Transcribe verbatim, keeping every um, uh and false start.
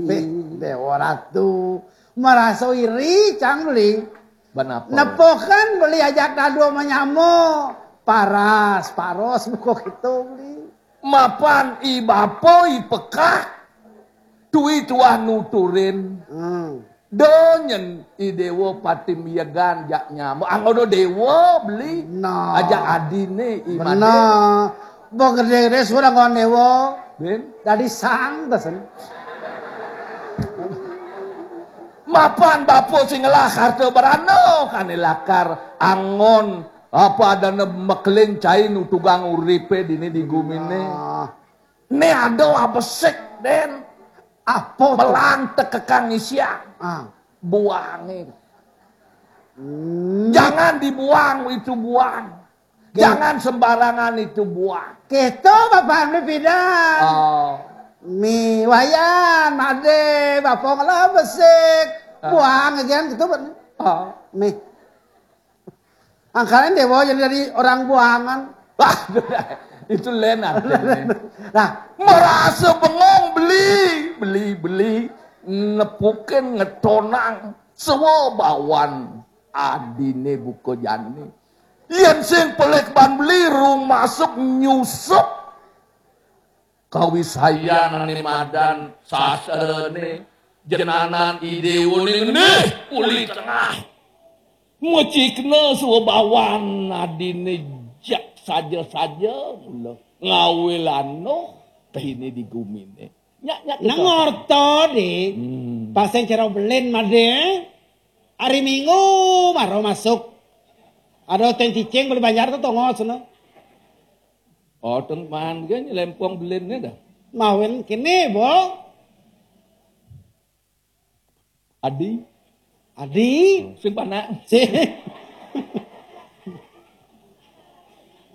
Beh, Déwa Ratu, marasa iri cang beli. Bén apa? Nepukin beli ajak dadua manyama. Paras, paros buka kéto beli. Mapan i bapa i pekak, tui tuah nuturin. Hmm. Da nyén i Déwa pati miegan jak nyama. Anggon Déwa beli. Nah. Ajak adiné i Madé. Bener. Ba gedé-gedé sudah anggon Déwa. Bén. Dadi sang tesen. Mapan bapa sing ngelah harta berana, kané lakar anggon apa adané makelin cai nutugang uripé dini di guminé. Nah. Né ada abesik, Dén. Apa to? Belang tekekang isian. Ah. Buangé. Hmm. Jangan dibuang itu buang. Oké. Jangan sembarangan itu buang. Kéto Bapa Hamdi pidan. Oh. Mi Wayan, Madé, Bapa ngelah besik. Ah. Buang aja kéto, Bén. Oh. Mi. Angkalan Déwa jadi, jadi orang buangan. Wah, itu lén artiné. Nah, marasa bengong beli, beli, beli, nepukin ngetonang sawabawan adiné buka jani. Yén sing pelik ban beli rung masuk nyusup. Kawisayan ané madan sastrané, jenanan i Déwané ngendih uli tengah. Mecikna sawabawan adiné jak saja-saja mula ngawé landuh dini di guminé. Nyak, nyak. Nang ngerti, Dé. Hmm. Pas sing cara belin, Madé. Hari Minggu mara masuk. Ada teng cicing beli banjar to tongos no. Oh, teng man gé nyelempong belinné dah. Mawin kéné, Bo. Adi. Adi. Sing panak. Sing.